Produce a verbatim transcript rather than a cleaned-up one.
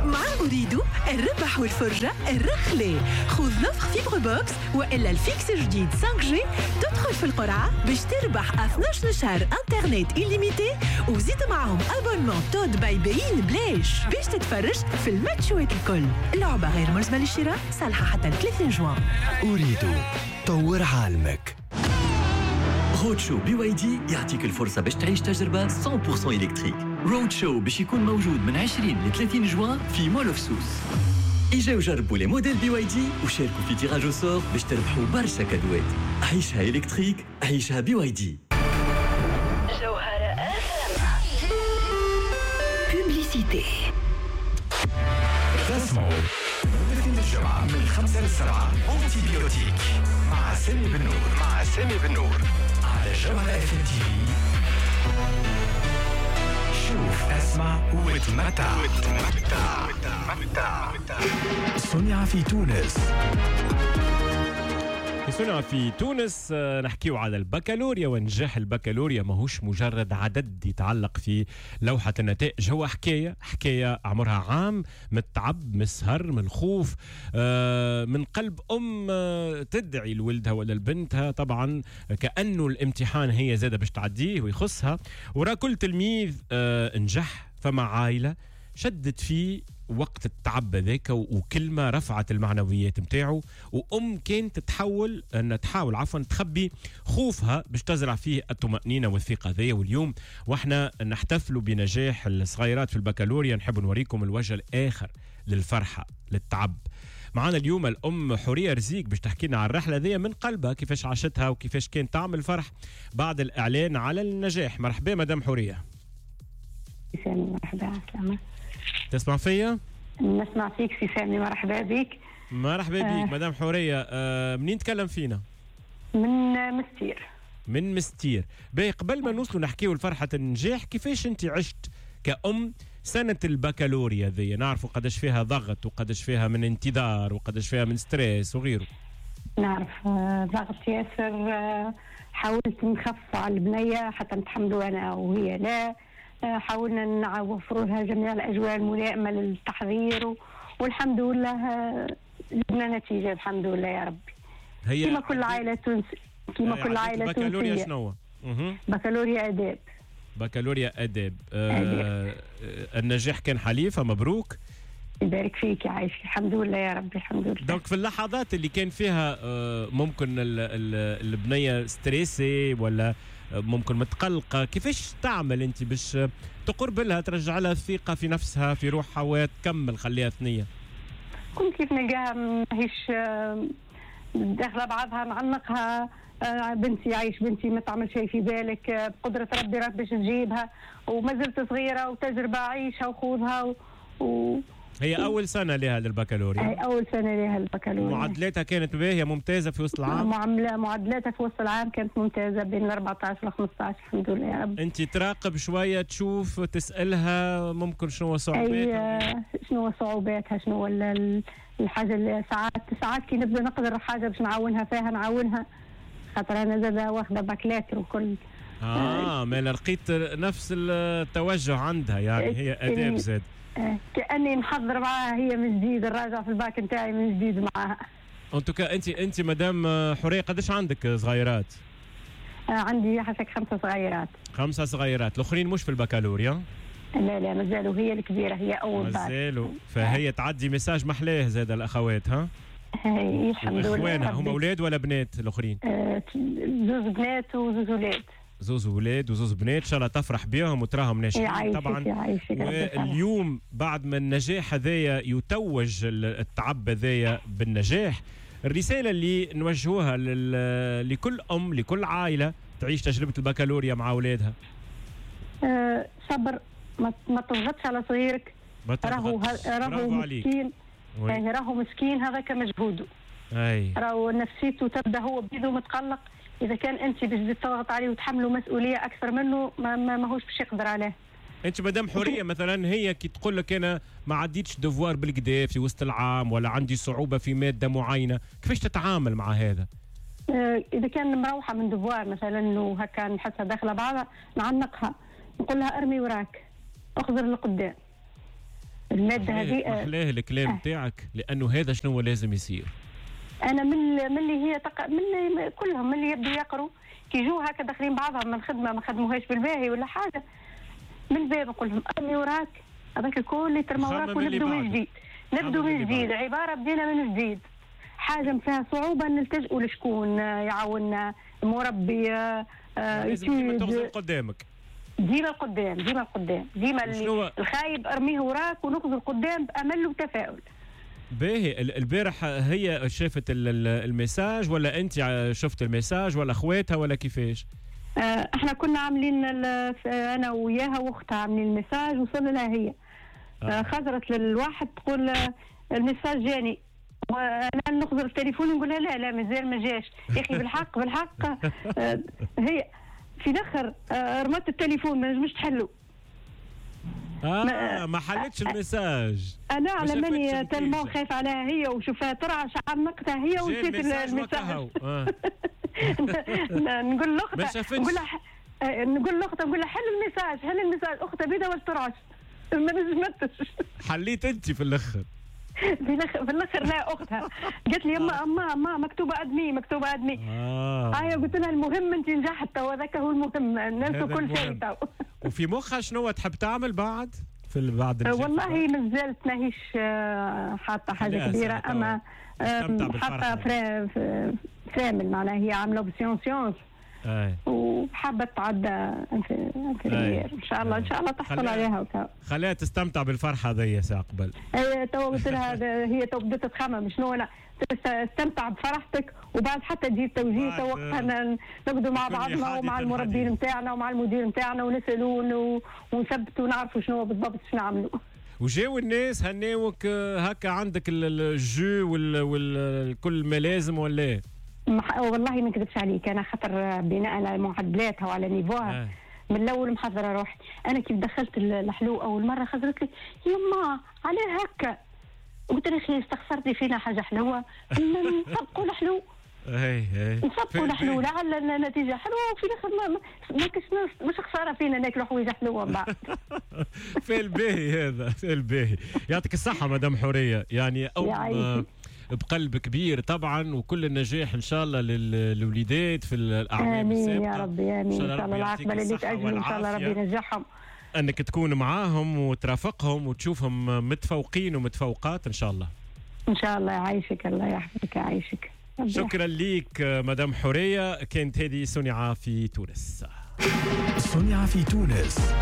مع أوريدو الربح والفرجة الرخلة. خذ l'offre fibre box والا ال fixe الجديد خمسة G، تدخل في القرعة باش تربح اثناش شهر انترنت illimité، وزيد معهم abonnement TOD by beIN بلاش باش تتفرج في الماتشوات الكل. لعبة غير ملزمة للشراء، صالحة حتى ثلاثين جوان. أوريدو، طور عالمك. Road Show BYD يعطيك الفرصة باش تعيش تجربة مية بالمية électrique. Road Show باش يكون موجود من عشرين ل ثلاثين جوان في Mall of Sousse. اجاو جربوا les modèles BYD وشاركوا في tirage au sort باش تربحوا برشا كادوات. عيشها électrique، عيشها BYD. جوهرة publicité. تسمعوا الاثنين الجمعة من خمسة للسبعة antibiotique مع سامي بنور، مع سامي بنور على جوهرة اف ام تي في. شوف، اسمع وتمتع وتمتع. صنع في تونس. صنع في تونس. آه، نحكيو على البكالوريا ونجاح البكالوريا ماهوش مجرد عدد يتعلق في لوحة النتائج، هو حكاية، حكاية عمرها عام من التعب، من السهر، من الخوف، آه، من قلب أم آه، تدعي لولدها ولا لبنتها، طبعا كأنه الامتحان هي زادة باش تعديه ويخصها. وراء كل تلميذ نجح فما عائلة شدت فيه وقت التعب هذاك وكلمة رفعت المعنويات نتاعو، وأم كانت تحاول أن تحاول عفوا تخبي خوفها باش تزرع فيه الطمأنينة والثقة ذي. واليوم واحنا نحتفلوا بنجاح الصغيرات في البكالوريا نحب نوريكم الوجه الآخر للفرحة، للتعب. معنا اليوم الأم حورية رزيق باش تحكي لنا على الرحلة ذي من قلبها، كيفاش عاشتها وكيفاش كان طعم الفرح بعد الإعلان على النجاح. مرحبا مدام حورية. مرحبا، عسلامة. تسمع فيا؟ نسمع فيك سي سامي، مرحبا بك. مرحبا بك آه. مدام حورية، آه منين تكلم فينا؟ من مستير. من مستير. باهي، قبل ما نوصلوا نحكيو لفرحة النجاح، كيفاش انت عشت كأم سنة البكالوريا ذي؟ نعرفوا قداش فيها ضغط وقداش فيها من انتظار وقداش فيها من stress وغيره. نعرف ضغط ياسر، حاولت نخفف على البنية حتى نتحملوا أنا وهي لا، حاولنا نوفروا لها جميع الأجواء الملائمة للتحضير، والحمد لله جبنا نتيجة، الحمد لله يا ربي. هي كما كل عائلة تونسية، كما كل عائلة تونسية. بكالوريا شنو؟ بكالوريا آداب. بكالوريا آداب. آه النجاح كان حليفة، مبروك. يبارك فيك، يعيشك، الحمد لله يا ربي، الحمد لله. donc في اللحظات اللي كان فيها ممكن البنية stressée ولا ممكن متقلقة، كيفاش تعمل أنت باش تقرب لها، ترجع لها الثقة في نفسها، في روحها، وتكمل خليها ثنية؟ كنت كيف نلقاها ماهيش داخلة بعضها نعنقها، بنتي عايش بنتي ما تعمل شيء في بالك، بقدرة ربي راك باش تجيبها، وما زلت صغيرة وتجربة عيشها وخوضها و... و... هي أول سنة لها للبكالوريا. هي أول سنة لها للبكالوريا. معدلاتها كانت باهية ممتازة في وسط العام؟ معاملة معدلاتها في وسط العام كانت ممتازة بين ال أربعطاش وال خمسطاش، الحمد لله يا رب. أنت تراقب شوية، تشوف، تسألها ممكن شنو صعوباتها؟ شنو صعوباتها، شنو الحاجة اللي ساعات ساعات كي نبدا نقدر حاجة باش نعاونها فيها نعاونها، خاطر أنا زادة واخدة bac lettres وكل. آه ما لقيت نفس التوجه عندها، يعني هي آداب زاد. كأني نحضر معاها هي من جديد، نراجع في الباك نتاعي من جديد معاها. en tout cas انت انت مدام حورية قداش عندك صغيرات؟ آه عندي حسك خمسة صغيرات. خمسة صغيرات، الاخرين مش في البكالوريا؟ لا لا مازالوا، هي الكبيرة هي أول باك. مازالوا، فهي تعدي message محلاه زاد الأخوات ها؟ هي الحمد لله. اخوانها هم أولاد ولا بنات الآخرين؟ آه زوز بنات وزوز أولاد. زوز ولاد وزوز بنات، ان شاء الله تفرح بيهم وتراهم ناجحين طبعا. واليوم بعد ما النجاح هذايا يتوج التعب هذايا بالنجاح، الرسالة اللي نوجهوها لكل ام، لكل عائلة تعيش تجربه البكالوريا مع اولادها؟ أه صبر، ما تضغطش على صغيرك، راهو راهو مسكين، راهو مسكين هذاك مجهوده، راهو نفسيته تبدا هو بيده متقلق. إذا كان أنت باش تضغط عليه وتحمله مسؤولية أكثر منه ما ماهوش باش يقدر عليه. أنت مدام حورية مثلا هي كي تقول لك أنا ما عديتش devoir بالكدا في وسط العام ولا عندي صعوبة في مادة معينة، كيفاش تتعامل مع هذا؟ آه إذا كان مروحة من devoir مثلا وهكا نحسها داخلة بعضها، نعنقها نقول لها ارمي وراك، اخزر لقدام، المادة هذه. محلاه الكلام تاعك، لانه هذا شنو لازم يصير. انا من من اللي هي تق... من اللي كلهم من اللي يبدوا يقروا كي يجوا هكا داخلين بعضهم من الخدمة ما خدموهاش بالباهي ولا حاجة، من الباب نقول لهم ارمي وراك هذاك الكل يترمى وراك ونبدو من جديد، نبدو من جديد، عبارة بدينا من جديد. حاجة فيها صعوبة نلتجئوا لشكون يعاوننا، مربي، لازم ديما تغزر قدامك، ديما القدام، ديما القدام، ديما الخايب ارميه وراك ونخزر قدام بامل وتفاؤل. باهي. البارح هي شافت ال message ولا انت شفت ال message ولا اخواتها ولا كيفاش؟ احنا كنا عاملين انا وياها واختها عاملين ال message، وصلنا لها هي. آه. خزرت للواحد تقول ال message جاني، وانا نخزر التليفون نقول لها لا لا مازال ما جاش يا اخي. بالحق بالحق هي في الاخر رمت التليفون ما نجمش تحلو. اه ما, ما حلتش ال message. انا على ماني tellement خايف عليها هي وشوفها ترعش عنقتها هي ونسيت ال message. آه. نقول لاختها، نقول لها نقول لاختها نقول لها حل ال message، حل ال message، اختها بيدها ولا ترعش ما نجمتش. حليت انت في الاخر؟ في الاخر في الاخر لا اختها قالت لي يما اما ما مكتوبة admis، مكتوبة admis. اه هي قلت لها المهم انت نجحت تو، هذاك هو المهم، ننسوا كل شيء تو. وفي مخها شنو تحب تعمل بعد في بعد؟ والله مازالت ماهيش حاطه حاجة كبيرة، اما حاطه فرامل، معناها هي عامله option sciences وحابة تعدى infirmière ان شاء الله. ان شاء الله تحصل عليها وكا. خليها تستمتع بالفرحه هذيا ساعة قبل. اي تو قلت لها هي تو بدات تخمم شنو انا تستمتع بفرحتك، وبعد حتى تجي التوجيه تو وقتها نقعدوا مع بعضنا ومع المربين نتاعنا ومع المدير نتاعنا ونسالوا ونثبتوا ونعرفوا شنو بالضبط شنو نعملوا. وجاو الناس هناوك هكا عندك الجو والكل ما لازم ولا؟ والله ما نكذبش عليك، انا خاطر بناء على معدلاتها وعلى niveau ها آه. من الاول محضرة روحي. انا كيف دخلت الحلو اول مرة خزرت لي يما علاه هكا، قلت لها اخي استخسرتي فينا حاجة حلوة، نسبقوا الحلو. اي اي نسبقوا الحلو لعل النتيجة حلوة، وفي الاخر ما ما كش مش خسارة فينا ناكلوا حوايج حلوة من بعد. في الباهي هذا، في الباهي. يعطيك الصحة مدام حورية، يعني أو بقلب كبير طبعا، وكل النجاح ان شاء الله للوليدات في الاعوام السابقة. امين يا ربي، امين ان شاء الله العاقبة اللي تاجلوا ان شاء الله ربي ينجحهم، انك تكون معاهم وترافقهم وتشوفهم متفوقين ومتفوقات ان شاء الله. ان شاء الله. يعيشك، الله يحفظك، يعيشك. شكرا ليك مدام حورية. كانت هذه صنع في تونس. صنع في تونس.